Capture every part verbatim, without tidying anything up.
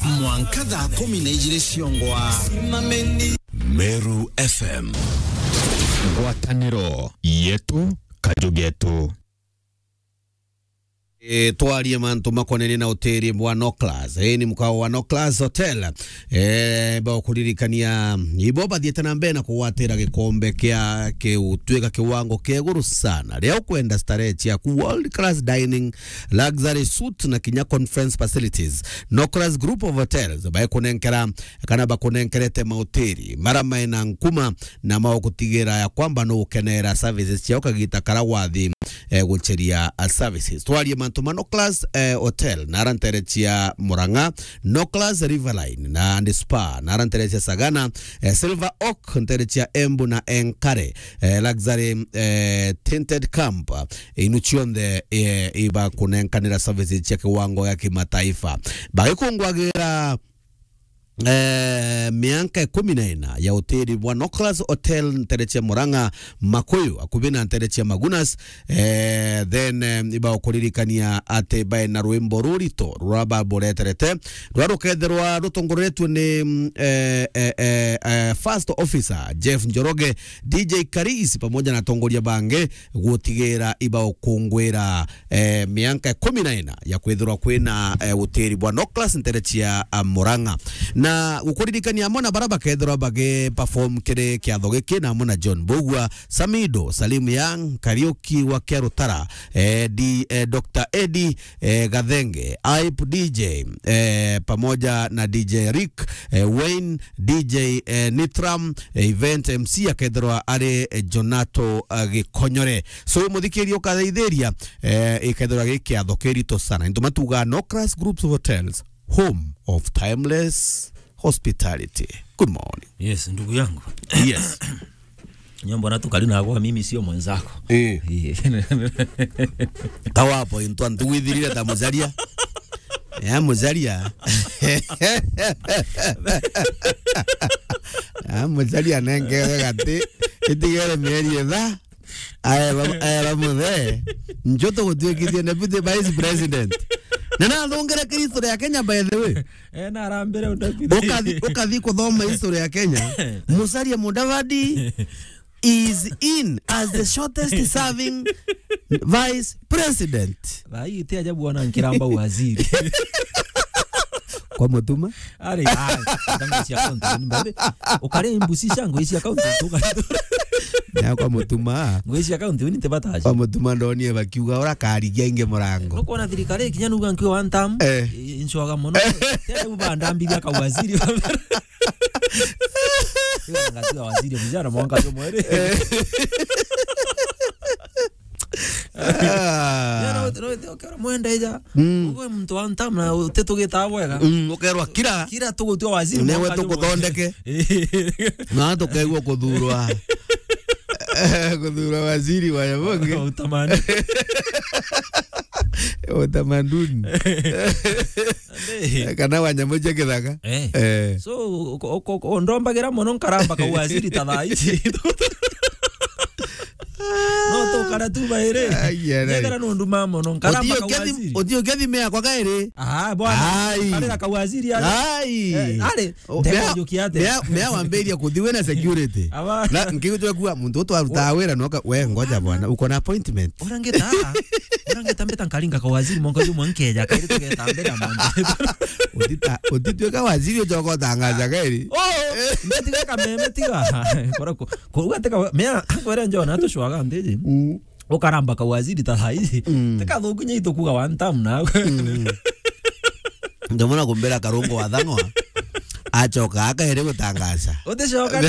Mwanka thaa kumi na ijiri ciongwa. Meru F M. Ngwataniro yetu, kaju getu. E, twarie mantu makonenie na utiri bwa Noclas. E, ni mukao wa Noclas Hotel. E, ba ukuririkania, ibo bathiete na mbere na kugwatira gikombe kia kiu, twika kiwango kia iguru sana. Ria ukwenda starehe ciaku, world class dining, luxury suite na kinya conference facilities. Noclas Group of Hotels baikunenkera kana bakunenkerete mautiri mara maina nkuma na maugutigira ya kwamba nugukenera services ciao kagita kara wathi, eh, gucheria, ah, services. Twarie mantu ma Noclas, eh, Hotel na ara ntere cia Murang'a, Noclas Riverline na and Spa na ara ntere cia Sagana, eh, Silver Oak ntere cia Embu na Enkare, eh, Luxury, eh, Tinted Camp, eh, inu cionthe, eh, ibakunenkanira services cia kiwango gia kimataifa. Bagikungwagira eh, mianka ikumi na ina ya utiri bwa Noclas Hotel ntere cia Murang'a, Makuyu, akubi na ntere cia Magunas. Eh, then, eh, ibakuririkania ati bae na rwimbo rurito rura babureterete, rura rukethirwa rutongoretue ni, mm, eh, eh, eh, eh, first officer Jeff Njoroge, D J Karis, pamoja na atongoria bangi, gutigira ibaukungwira, eh, mianka ikumi na ina ya kwithirwa kwina, eh, utiri bwa Noclas ntere cia, ah, Murang'a. Na gukuririkania amwe na bara bakethirwa bagi perform kiri kiatho giki na amwe na John Mbugua, Samido, Salim Young, Kariuki wa Kiarutara, eh, D, eh, Doctor Eddie, eh, Gathenge, Hype D J, eh, pamoja na D J Rick, eh, Wayne, D J, eh, Nitram, eh, event M C akethirwa ari, eh, Jonato, eh, Gikonyore. So, muthikiria ukathaithiria, eh, ikethirwa gi kiatho kirito sana. Into matuga Noclas Groups of Hotels, home of timeless hospitality. Good morning. Yes, ndugu yangu. Yes. Nyombo na tukali na kwa mimi sio mwenzako. Eh. Eh. Kawapo into antu withirire ta mujaria. Ya mujaria. Ya mujaria nenge gati. Itigere mieri etha. Aera, aera muthe. Njo tugutuikithie deputy vice president. Na nathungire kiri history ya Kenya, by the way. Eh, na arambire udapithia. Ukathi, ukathi kuthoma history ya Kenya. Musalia Mudavadi is in as the shortest serving vice president. Thaa hii ti ajabu ona nkiramba waziri. Kwa Mutuma? Ari, ai, ndango cia kaunti ni mbabe. Ukare mbusi cia ngui cia kaunti tuka. Na kwa Mutuma. Ngui cia kaunti ni tebataji. Kwa Mutuma ndonie bakiuga ora karigia inge murango. Nukwona thirikari kinya nuga nkiwa one term. Eh. Inchoga mono. Tena uba ndambiria ka waziri. Ngatiga waziri vijana mwanka tu mwere. Ah. Yana wote, wote, ukera mwenda ija. Mm. Uwe mtu wa ntamu na utetugita bwega. Mm, ukerwa kira. Kira tugutua waziri. Newe mwanka tu mwere. Tukuthondeke. Na tukaigua kuthurwa. Kuthurwa waziri wa yabonge. Utamaduni. Utamaduni. Ande. Kana wa nyamu cia githaka. Eh. Eh. So, uko-, uko-, uko-, ndombagira mono nkaramba kau waziri ta thaa ici. No tukara tu bairi. Ai, ai, ai. Nyethera nundu ma mono nkaramba kau waziri. Uthi ukethi mea kwa kairi. Ah, bwana. Ai. Karira kau waziri ari. Ai. Eh, ari. O, mea, ndegujukia atia? Mea, mea wambiria kuthi wina security. Aba. Na nkigutwe kuwa muntu utwaruta wira noka, we ngoja bwana, uko na appointment. Urangita, urangita mbeta nkaringa ka waziri monka jumwe nkeja, kairi tugeta mbere ya mwanzo. Utita-, utitweka waziri ujoka utangaza kairi. Oh, mbetiga kameme tiga. Kora ko, ko ugateka, mea, kwere njona tushwaga ndiji. Mm. Ukaramba ka waziri ta thaiji. Mm. Teka thuku nya itukuga one term na. Mm. Ndamona kumbira karungu wa thang'wa. Acoka akaere gutangaza. Uticoka.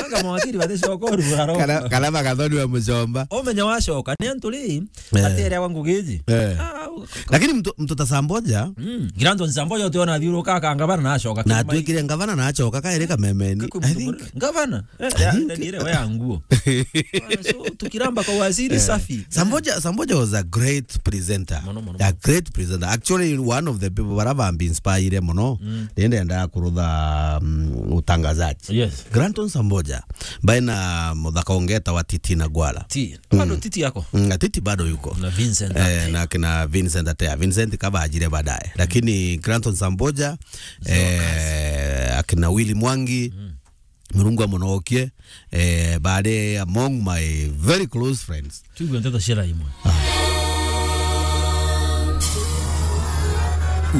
Anga mawakiri baticoka urugara ro. Kana, kana bagathoni wa mucomba. Umenya wacoka, ni antu ri, eh, atere wa ngugiji. Eh. Ah, u-, lakini mtu, mtu ta Samboja. Mm. Grandon Samboja utiona athiuruka akanga bana na acoka. Na Kirima. Atwikire ngavana na acoka kaere kamemeni. Kakwi I think mtu ngavana. Eh, I ya, think Daniel, we ya nguo. Bwana, so, tukiramba kwa waziri, eh, safi. Samboja, Samboja was a great presenter. Mono, mono, a mono. Great presenter. Actually, one of the people bara bambi inspire mono. Mm. Nende enda kurutha, mm, utangazaji. Yes. Granton Samboja, baina muthaka ungeta wa Titi na Gwala. Ti. Mm. Bado Titi yako? Mm, na Titi bado yuko. Na Vincent. Eh, na kina Vincent Atea. Vincent kabajire baadaye. Lakini Granton Samboja, eh, akina Willy Mwangi, Murungu amunokie, eh, bari among my very close friends. Tuigue nteto cia raimwe.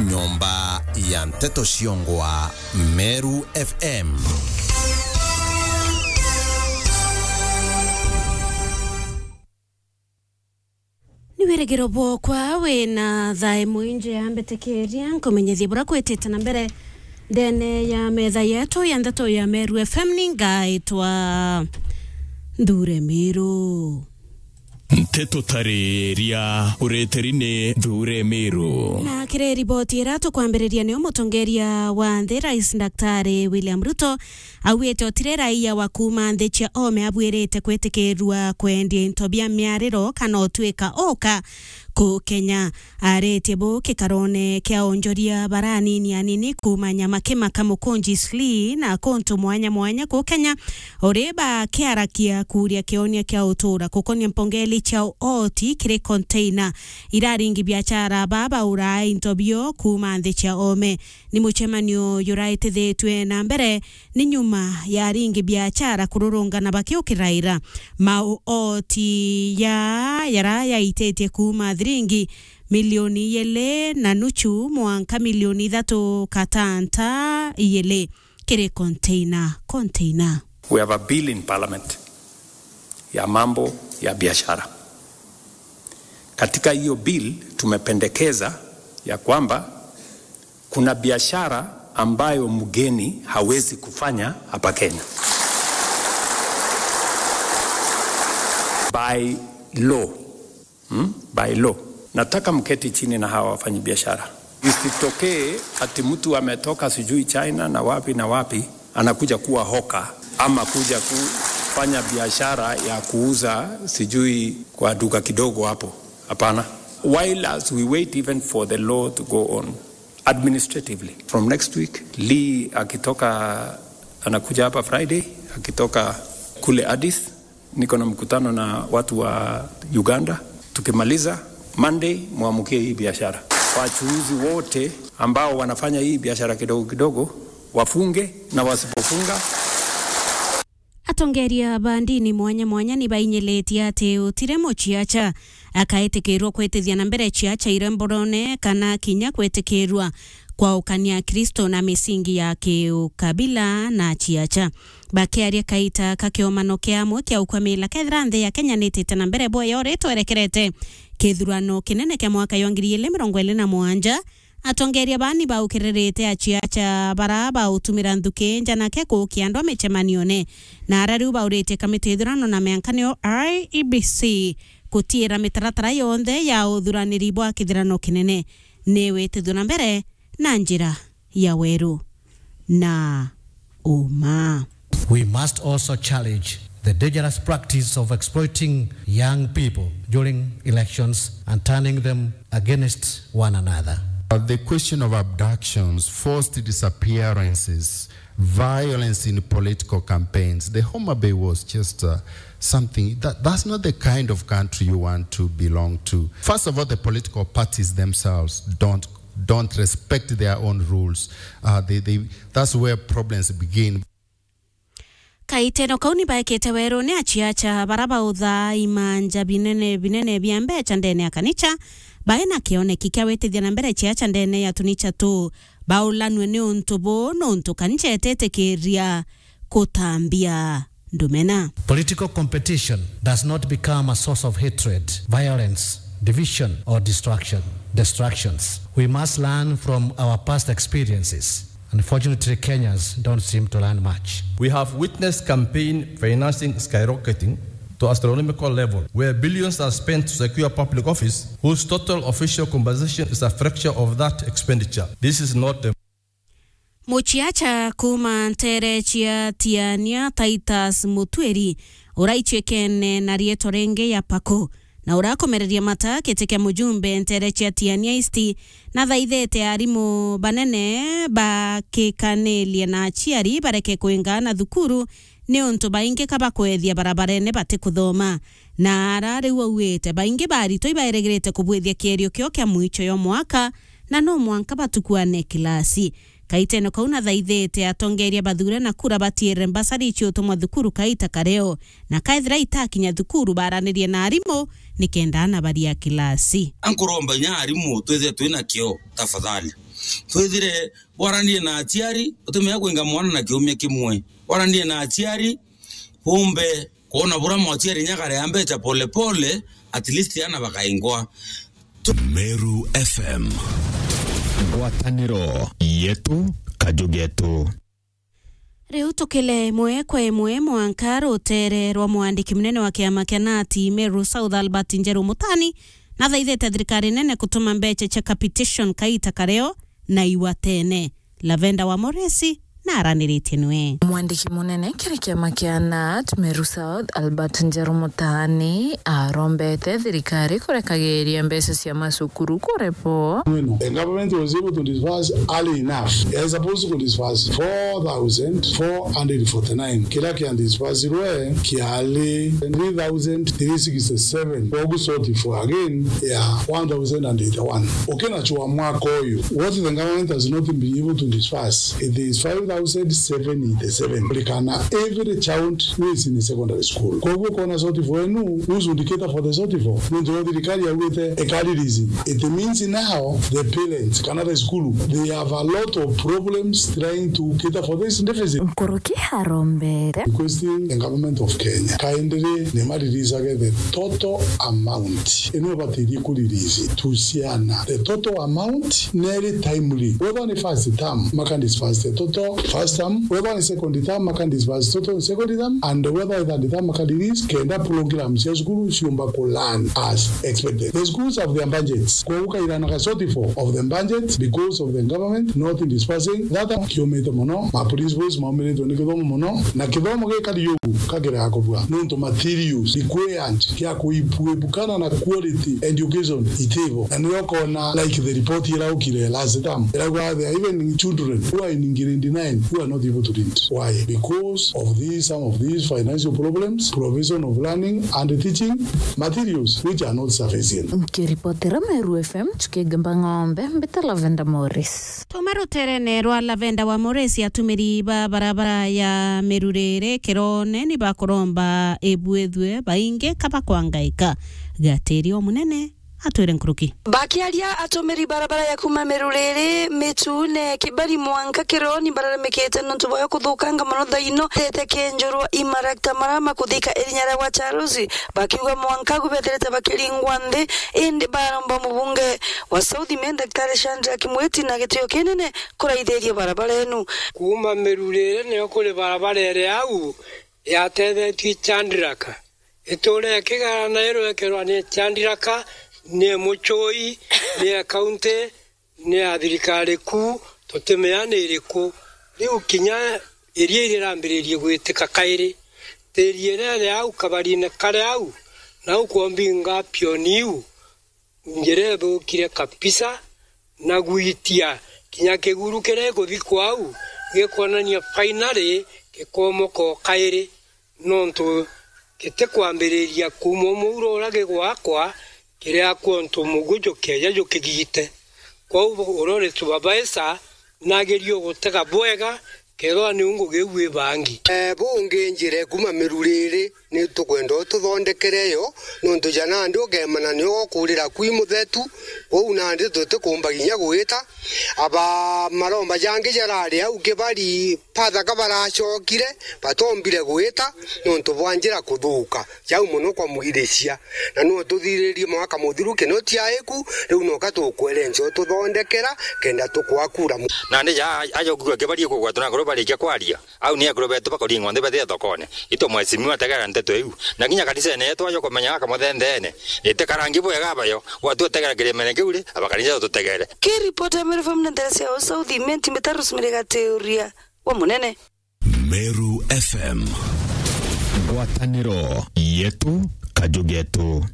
Nyomba ya nteto ciongwa Meru F M. Ni wirigiro bwokwa wina thae mwinji ya mbitikiria nkumenyithie bura kwitite na mbere ndene ya metha yetu ya ndeto ya Meru F M. Ni ngaitwa Nthure Miru. Nteto tariria ureteri ni Nthure Miru. Na kiri riboti ira tukwambiriria, nio mutongeria wa nthi, Rais Daktari William Ruto, augite utiri raia wa kuuma nthi cia ome abuirite kwitikirua kwendia into bia miariro kana utwika oka ku Kenya. Aritie bu kikarone kia onjoria baranini anini kuuma Nyamakima, Kamukunji, Sli na kuntu mwanya mwanya ku Kenya, uri bakiarakia kuria kionia kia utura kukonia mpongeli cia uoti kiri container iraringi biachara baba uraa into bio kuuma nthi cia ome. Ni mucemanio juraitithitue na mbere ni nyuma ya aringi biachara kururungana bakiukiraira maoti ya yara yaititie kuuma thiringi milioni ijiri na nuchu mwanka milioni ithatu katanta ijiri kiri container, container. We have a bill in parliament ya mambo ya biashara. Katika hiyo bill tumependekeza ya kwamba kuna biashara ambayo mgeni hawezi kufanya hapa Kenya. By law. Hmm? By law. Nataka mketi chini na hawa wafanyabiashara. Isitokee ati mtu ametoka sijui China na wapi na wapi, anakuja kuwa hoka ama kuja kufanya biashara ya kuuza sijui kwa duka kidogo hapo. Hapana. While as we wait even for the law to go on administratively, from next week, Lee akitoka, anakuja hapa Friday, akitoka kule Addis, niko na mkutano na watu wa Uganda. Tukimaliza Monday, muamukie hii biashara. Wachuuzi wote ambao wanafanya hii biashara kidogo kidogo, wafunge, na wasipofunga. Atongeria ba ndini mwanya mwanya ni bainyilitie ati utire muciaca akaitikirwa kwitithia na mbere ciaca iria mborone kana kinya kwitikirwa kwaukania Kristo na misingi ya kiukabila na ciaca. Bakiaria kaita ka kiomano kia amwe kia ukwamila, kethira nthi ya Kenya nitite na mbere bwega uria twerekerete kithurano kinene kia mwaka jwa ngiri ijiri mirongo iri na mugwanja, atongeria baa ni baukiririte aciaca bara bautumira nthuki njanake kuukia andu a micemanione, na ara riu bauritie kamiti ya ithurano na miankanio I E B C gutiira mitaratara yonthe ya uthuraniri bwa kithurano kinene ni witithua na mbere na njira ya weru na uma. We must also challenge the dangerous practice of exploiting young people during elections and turning them against one another. Uh, the question of abductions, forced disappearances, violence in political campaigns, the Homa Bay was just, uh, something that, that's not the kind of country you want to belong to. First of all, the political parties themselves don't don't respect their own rules. Uh, they, they, that's where problems begin. Kaiteno kau ni baekete werune aciaca bara bauthaa imanja binene binene bia mbeca ndene ya kanicha, bae na kioneki kia witithia na mbere ciaca ndene ya tunicha tu baulanue ni untu bu, nuntu kanicha ititikiria kutambia ndumena. Political competition does not become a source of hatred, violence, division, or destruction, destructions. We must learn from our past experiences. Unfortunately, Kenyans don't seem to learn much. We have witnessed campaign financing skyrocketing to astronomical level, where billions are spent to secure public office whose total official compensation is a fraction of that expenditure. This is not dem- Muciaca kuuma ntere cia Tiania, Titus Mutwiri, uraichikene na rietwa ringi ya Paku, na urakomereria mata giti kia mujumbe ntere cia Tiania East, nathaithite arimu banene bakikanirie na aciari bareke kwinga na thukuru, niuntu baingi ka bakwethia barabarene batikuthoma. Na ara riu auite, baingi ba aritwa ibaeregirite kubwithia kierio kio kia mwicho yo mwaka, na no mwanka batukwane kilasi. Kaitene kau nathaithite atongeria bathure na kura batiere mbasari ciutumwa thukuru kaita kareo, na kaethira itakinya thukuru baranirie na arimu nikenda ana baria kilasi. Ankuromba inya arimu twithire twina kio, tafadhali. Twithire bwaranirie na aciari, utimenya kwinga mwana na kiumia kimwe. Bwaranirie na aciari, bumbe kwona bura mwaciari nyagarea mbeca polepole, at least ana bakaingwa. Meru F M. Ngwataniro yetu, kaju getu. Riu tukile imwe kwa imwe mwanka rutere rwa mwandiki munene wa kiama kia nati Meru South Albert Njeru Mutani nathaithite thirikari nene kutuma mbeca cia capitation kaita kareo na iwatene. Lavenda wa Moresi na araniritie nwe. Mwandiki munene kiri kiama kia nat Meru South, Albert Njeru Mutani, arombete thirikari kurekagiria mbeca cia macukuru kurepo. The government was able to disburse early enough. It is supposed to disburse four thousand four hundred forty-nine. Kiria kia disbursirwe kiari three thousand three sixty-seven. Koguo shortfall again ya one thousand and eighty-one. Ukinachua mwaka uyu, what the government has not been able to disburse, it is five thousand seven eighty-seven. Kulikana every child who is in a secondary school. Koguo kona shortfall enu, who should cater for the shortfall? Nontu thirikari yaugite ikari release. It means now the parents, kana the school, they have a lot of problems trying to cater for this deficit. Nkuruki arombere. Requesting the government of Kenya, kindly ni ma release age the total amount. Ino ibatirie ku release tu ciana. The total amount neri timely. Whether ni first term, maka disburse the total first term. Whether ni second term, maka disburse total second term. And whether ni third term, maka release kenda program cia cukuru ciumba ku run as expected. The schools have their budgets. Kwa ukairana ga shortfall of the budget because of the government not disbursing. That kiumite muno. Ma principals maumiritwe ni kithomo muno. Na kithomo gikari ugu kagira kubua. Nontu materials required kia kuibukana na quality education itivo. Na nio kona like the report ira ukire last term. Iragwa there are even children who are in grade nine who are not able to read. Why? Because of these, some of these financial problems, provision of learning and teaching materials which are not sufficient. Nkiripotera Meru F M, Chukigemba Ng'ombe, mbita Lavenda Morris. Tuma ruterene rwa Lavenda wa Morris, atumiri ba barabara ya Miruriri Kirone ni bakuromba ibwithwe baingi kaba kwangaika. Gatiri o munene atwire nkuruki. Bakiaria atumiri barabara ya kuma Miruriri, Mitune, Kibari mwanka Kironi bararemekete nontu bwayo kuthukanga mono thaino tete kenjurwa imarakta mara makuthika irinya ria gwa Charles, bakiuga mwanka agu betherete bakiringwa nthi, indi baromba mubunge wa South Imenti Daktari Shadrack Mwiti na gitio kinene kuraithiria barabara enu. Kuma Miruriri nio kuri barabara iri au yatethetue Chandraka. Itura ikigara na irwekerwa ni Chandraka, ni mucui, ni akaunti, ni ya thirikari kuu, tutimenya ni iriku. Riu kinya iria irirambiririe gwitika kairi, tiri irere au kabarine kari au, nau kwombinga pioni iu, njira ithukire kabisa, na gwitia kinya kiguru kiria gikuthikwa au, gikwonania finally gikomoka o kairi. Nontu gitikwambiriria kuuma umuuro uria gigwakwa, kiriakua untu muguju kieja jukigite. Kwou uria uri supervisor, nagerie gutega bwega, kethirwa niu ngugi iu ibangi. Eh, bungi njira kuuma Miruriri, ni tukwenda ututhondekere yo, nontu ja nandi ugemana nio gukurira kwi muthetu, kwou nandi tutikumba kinya gwita. Aba maromba jangi jarari au Kibari, Pathaka baracokire, batombire gwita nontu bwa njira kuthuka. Jau mono kwa mwiricia. Na no tuthiririe mwaka muthiru kino tiaiku, riu noka tukwerenca ututhondekera, kenda tukwakura mu- Nandi ja ajo kugua Kibari kugwatwa na kuru barikia kwaria. Au ni akuru betu bakuringwa nthi bathie thokone. Itu mheshimiwa tegera nteto iu. Na kinya kanisene yetu ajo kumenya aka muthendeene. Ite karangi bwega abayo. Gwatu utegera kirimene kiu ri, abakanisa tutegere. Ki ripoti ya Meru F M na ntere cia South Imenti, Mitaru Smiri Gatiuria wa munene. Meru F M. Ngwataniro yetu, kaju getu.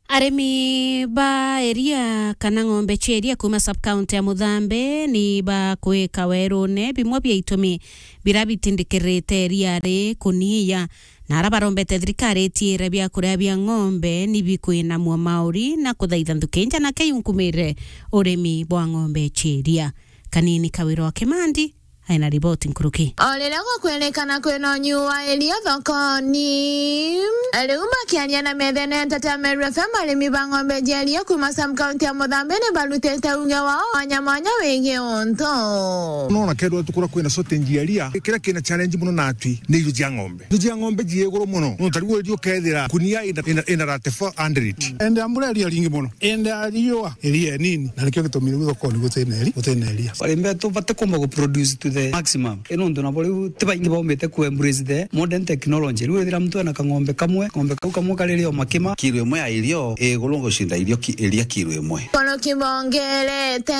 Arimi ba eria kana ng'ombe cia eria kuuma sub-county ya Muthambe ni bakwika werune bimwe bia itumi bira bitindikirite eria ri kuniia. Na ara barombete thirikari itiire biakuria bia ng'ombe ni bikwinamua mauri na kuthaitha nthukinja na keyunkumire urimi bwa ng'ombe cia iria. Kanini Kawira wa Kimandi aina riboti nkuruki. O riria gukwirikana kwina unyu wa iria thokoni, riu bakiaria na methene ya Nteto ya Meru F M, arimi ba ng'ombe cia iria kuma sub-county ya Muthambi ni barutite uge wao mwanya mwanya wigii untu. Nona kethirwa tukura kwina shortage ya iria, kiria kina challenge muno natwi ni irio cia ng'ombe. Irio cia ng'ombe cie iguru muno. Nontu riu irio ukethira kunia ina, ina, ina thirty-four hundred. Ende ambura iria ringi muno. Ende ariua iria nini. Na nikio gitumi riu thokoni gutina iri-, gutina iria. Arimi betu batikumba gu produce to the maximum. Ino ntu nabo riu ti baingi baumite ku embrace the modern technology. Riu withira muntu ena kang'ombe kamwe, ng'ombe kau kamwe kari rio makima. Kilo imwe ya irio ii iguru gucinda irio ki-, iria kilo imwe. Kono kibongerete.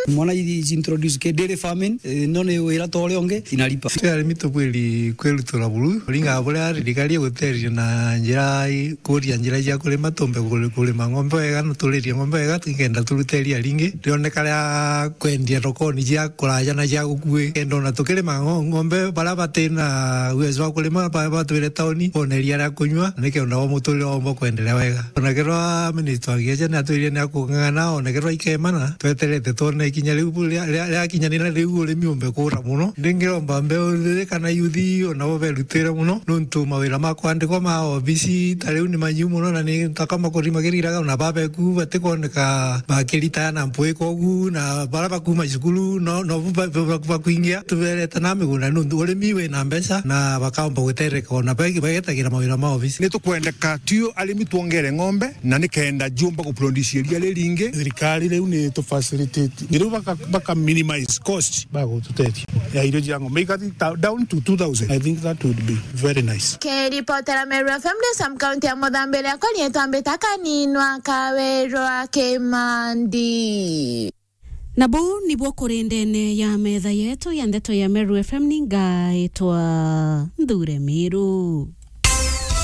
Mwana ithi introduce ke dairy farming, eh, no ni wira ta uria ungi, inalipa. Twi arimi tubwiri kwirutura buru, kuringana buria thirikari iguteria na njira i-, kuria njira cia kurima, tumbe kuri-, kurima ng'ombe wega, na turirie ng'ombe wega, nikenda turute iria ringi. Rioneka ria kwendia thokoni cia kuraja na cia gukui. Kenda ona tukirima ngo-, ng'ombe, baria batina uwezo wa kurima, ba-, batwire tauni, bone iria ria kunyua, nikenda o muturire wao umba kwenderea wega. Ona kethirwa minister wa agriculture ni atwirire ni akung'ang'ana, ona kethirwa ikemana, tweterete twone ikinya riu bu-, ria, ria, riakinyanira riu urimi umbe kuura muno. Ndingiromba mbeu thithi kana yuthi, o nabo berutire muno, nontu mawira ma kwandikwa ma obisi ta riu ni manyiu muno, na ni taka makurima kiriraga, ona babeku batikwoneka bakiritaya na mpwi kogu, na baria bakuma cukuru, no, no bu ba-, ba-, ba-, bakuingia, tuberete na migunda, nontu urimi wina mbeca, na bakaomba gutereka, ona bagi-, bagetagira mawira ma obisi. Ni tukwendeka tu arimi twongere ng'ombe, na nikenda ciumba guproduce iria riringi. Thirikari riu ni tu facilitate. Riu baka, baka minimize cost, bagututethia ya irio cia ng'ombe. Ikathi ta, down to two thousand. I think that would be very nice. Kiripotera Meru F M ndi sub-county ya Muthambi, riakwa riitwa Mbita Kaninwa Kawirwa Kimandi. Na buu nibuo kuri ndene ya metha yetu ya ndeto ya Meru F M, ni ngaitwa Nthure Miru.